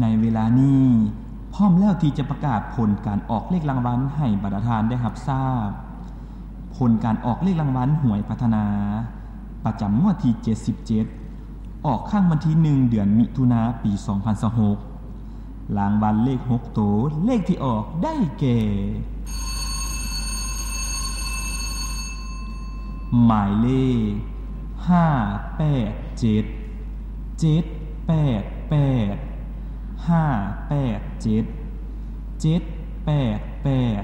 ໃນເວລານີ້ ພ້ອມແລ້ວທີ່ຈະປະກາດຜົນການອອກເລກລາງວັນໃຫ້ບັນດາທ່ານໄດ້ຮັບຊາບ. ຜົນການອອກເລກລາງວັນຫວຍພັດທະນາ ປະຈຳງວດທີເຈັດສິບເຈັດ ອອກຄັ້ງວັນທີໜຶ່ງ ເດືອນມິຖຸນາ ປີສອງພັນຊາວຫົກ. ລາງວັນເລກຫົກໂຕ ເລກທີ່ອອກໄດ້ແກ່ ໝາຍເລກ ຫ້າແປດເຈັດ ເຈັດແປດແປດ ຫ້າແປດເຈັດ ເຈັດແປດແປດ.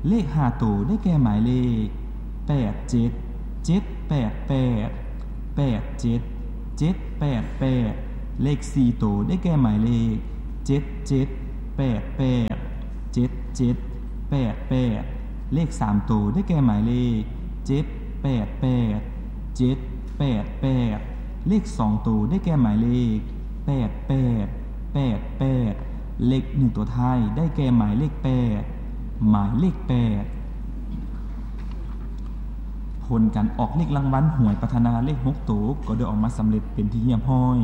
ເລກຫ້າໂຕໄດ້ແກ່ໝາຍເລກ ແປດເຈັດ ເຈັດແປດແປດ ແປດເຈັດ ເຈັດແປດແປດ. ເລກສີ່ໂຕໄດ້ແກ່ໝາຍເລກ ເຈັດເຈັດແປດແປດ ເຈັດເຈັດແປດແປດ. ເລກສາມໂຕໄດ້ແກ່ໝາຍເລກ ເຈັດແປດແປດ ເຈັດແປດແປດ. ເລກສອງໂຕໄດ້ແກ່ໝາຍເລກ ແປດແປດແປດແປດ. ເລກໜຶ່ງຕົວທ້າຍໄດ້ແກ່ໝາຍເລກແປດ ໝາຍເລກແປດ. ຜົນການອອກເລກລາງວັນຫວຍພັດທະນາເລກຫົກໂຕກໍໄດ້ອອກມາສຳເລັດເປັນທີ່ຮຽບຮ້ອຍ.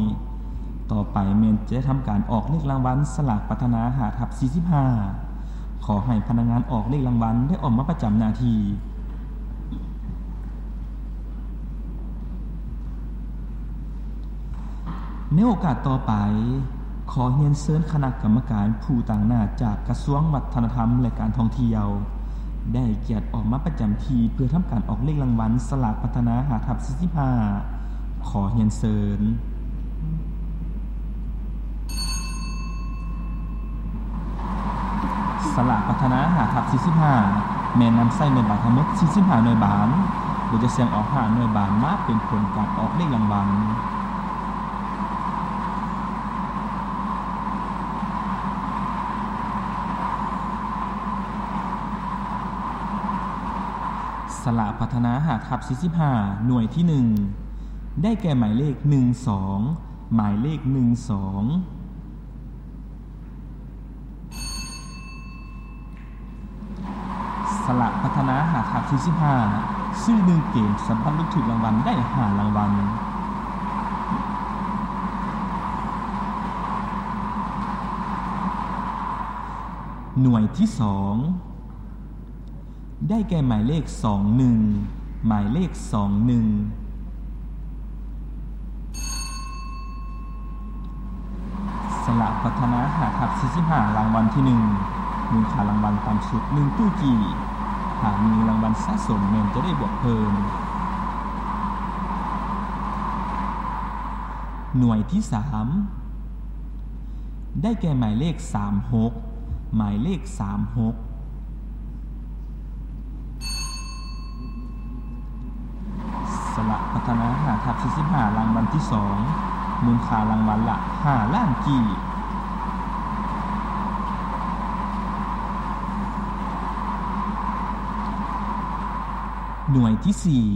ຕໍ່ໄປແມ່ນຈະໄດ້ທຳການອອກເລກລາງວັນສະຫຼາກພັດທະນາ ຫ້າທັບສີ່ສິບຫ້າ. ຂໍໃຫ້ພະນັກງານອອກເລກລາງວັນໄດ້ອອກມາປະຈຳໜ້າທີ່. ໃນໂອກາດຕໍ່ໄປ, ຂໍຮຽນເຊີນຄະນະກຳມະການຜູ້ຕາງໜ້າຈາກກະຊວງວັດທະນະທຳ ແລະ ການທ່ອງທ່ຽວ ໄດ້ກຽດອອກມາປະຈຳທີ່ເພື່ອທຳການອອກເລກລາງວັນສະຫຼາກພັດທະນາ ຫ້າທັບສີ່ສິບຫ້າ. ຂໍຮຽນເຊີນ. ສະຫຼາກພັດທະນາ ຫ້າທັບສີ່ສິບຫ້າ ແມ່ນນຳໃຊ້ໜ່ວຍບານທັງໝົດສີ່ສິບຫ້າໜ່ວຍບານ, ໂດຍຈະສຽງອອກຫ້າໜ່ວຍບານມາເປັນຜົນການອອກເລກລາງວັນ. ສະຫຼາກພັດທະນາ ຫ້າທັບສີ່ສິບຫ້າ ໜ່ວຍທີໜຶ່ງ ໄດ້ແກ່ໝາຍເລກໜຶ່ງສອງ ໝາຍເລກໜຶ່ງສອງ. ສະຫຼາກພັດທະນາ ຫ້າທັບສີ່ສິບຫ້າ ຊື້ໜຶ່ງເກມ ສາມາດລຸ້ນຖືກລາງວັນໄດ້ຫ້າລາງວັນ. ໜ່ວຍທີສອງ ໄດ້ແກ່ໝາຍເລກສອງໜຶ່ງ ໝາຍເລກສອງໜຶ່ງ. ສະຫຼາກພັດທະນາ ຫ້າທັບສີ່ສິບຫ້າ ລາງວັນທີໜຶ່ງ ມູນຄ່າລາງວັນຕ່ຳສຸດໜຶ່ງຕູ້ກີ້, ຖ້າມີລາງວັນສະສົມແມ່ນຈະໄດ້ບວກເພີ່ມ. ໜ່ວຍທີສາມ ໄດ້ແກ່ໝາຍເລກສາມຫົກ ໝາຍເລກສາມຫົກ. ສະຫຼາກພັດທະນາ ຫ້າທັບສີ່ສິບຫ້າ ລາງວັນທີສອງ ມູນຄ່າລາງວັນລະຫ້າລ້ານກີບ. ໜ່ວຍທີສີ່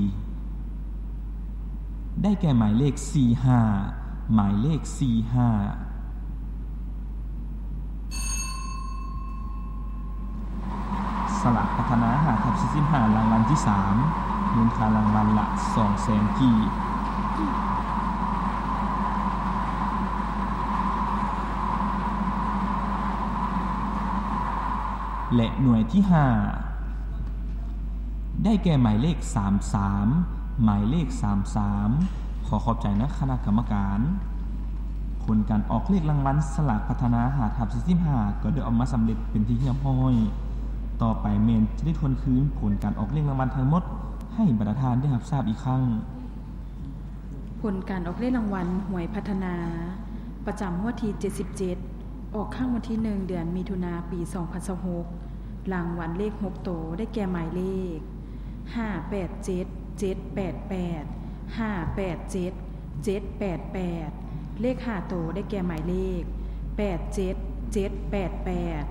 ໄດ້ແກ່ໝາຍເລກສີ່ຫ້າ ໝາຍເລກສີ່ຫ້າ. ສະຫຼາກພັດທະນາ ຫ້າທັບສີ່ສິບຫ້າ ລາງວັນທີສາມ ມູນຄ່າລາງວັນລະສອງແສນກີບ. ແລະ ໜ່ວຍທີຫ້າ ໄດ້ແກ່ໝາຍເລກສາມສາມ ໝາຍເລກສາມສາມ. ຂໍຂອບໃຈນະຄະນະກຳມະການ. ຜົນການອອກເລກລາງວັນສະຫຼາກພັດທະນາ ຫ້າທັບສີ່ສິບຫ້າ ກໍໄດ້ອອກມາສຳເລັດເປັນທີ່ຮຽບຮ້ອຍ. ຕໍ່ໄປແມ່ນຈະໄດ້ທວນຄືນຜົນການອອກເລກລາງວັນທັງໝົດໃຫ້ບັນດາທ່ານໄດ້ຮັບຊາບອີກຄັ້ງ. ຜົນການອອກເລກລາງວັນຫວຍພັດທະນາ ປະຈຳງວດທີເຈັດສິບເຈັດ ອອກຄັ້ງວັນທີໜຶ່ງ ເດືອນມິຖຸນາ ປີສອງພັນຊາວຫົກ. ລາງວັນເລກຫົກໂຕ ໄດ້ແກ່ໝາຍເລກ ຫ້າແປດເຈັດ ເຈັດແປດແປດ ຫ້າແປດເຈັດ ເຈັດແປດແປດ. ເລກຫ້າໂຕ ໄດ້ແກ່ໝາຍເລກ ແປດເຈັດ ເຈັດແປດແປດ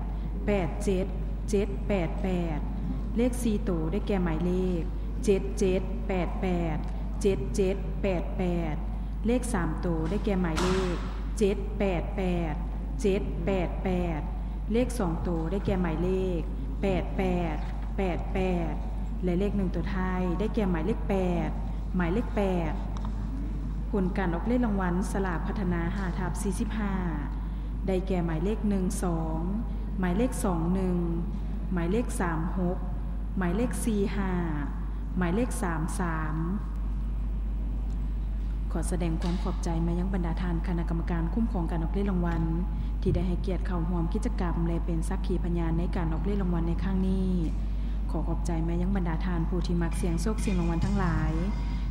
ແປດເຈັດ ເຈັດແປດແປດ. ເລກສີ່ໂຕ ໄດ້ແກ່ໝາຍເລກ ເຈັດເຈັດແປດແປດ ເຈັດເຈັດແປດແປດ. ເລກສາມໂຕ ໄດ້ແກ່ໝາຍເລກ ເຈັດແປດແປດ ເຈັດແປດແປດ. ເລກສອງໂຕ ໄດ້ແກ່ໝາຍເລກ ແປດແປດແປດແປດ ແລະ ເລກໜຶ່ງຕົວທ້າຍ ໄດ້ແກ່ໝາຍເລກແປດ ໝາຍເລກແປດ. ຜົນການອອກເລກລາງວັນສະຫຼາກພັດທະນາ ຫ້າທັບສີ່ສິບຫ້າ ໄດ້ແກ່ ໝາຍເລກ ໜຶ່ງສອງ, ໝາຍເລກ ສອງໜຶ່ງ, ໝາຍເລກ ສາມຫົກ, ໝາຍເລກ ສີ່ຫ້າ, ໝາຍເລກ ສາມສາມ. ຂໍສະແດງຄວາມຂອບໃຈມາຍັງບັນດາທ່ານຄະນະກຳມະການຄຸ້ມຄອງການອອກເລກລາງວັນ ທີ່ໄດ້ໃຫ້ກຽດເຂົ້າຮ່ວມກິດຈະກຳ ແລະ ເປັນສັກຂີພະຍານໃນການອອກເລກລາງວັນໃນຄັ້ງນີ້. ຂໍຂອບໃຈມາຍັງບັນດາທ່ານຜູ້ທີ່ມັກສ່ຽງໂຊກສ່ຽງລາງວັນທັງຫຼາຍ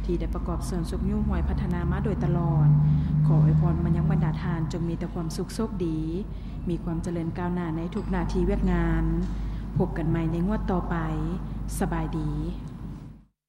ທີ່ໄດ້ປະກອບສ່ວນຊຸກຍູ້ຫວຍພັດທະນາມາໂດຍຕະຫຼອດ. ຂໍອວຍພອນມາຍັງບັນດາທ່ານຈົ່ງມີແຕ່ຄວາມສຸກໂຊກດີ, ມີຄວາມຈະເລີນກ້າວໜ້າໃນທຸກໜ້າທີ່ວຽກງານ. ພົບກັນໃໝ່ໃນງວດຕໍ່ໄປ. ສະບາຍດີ.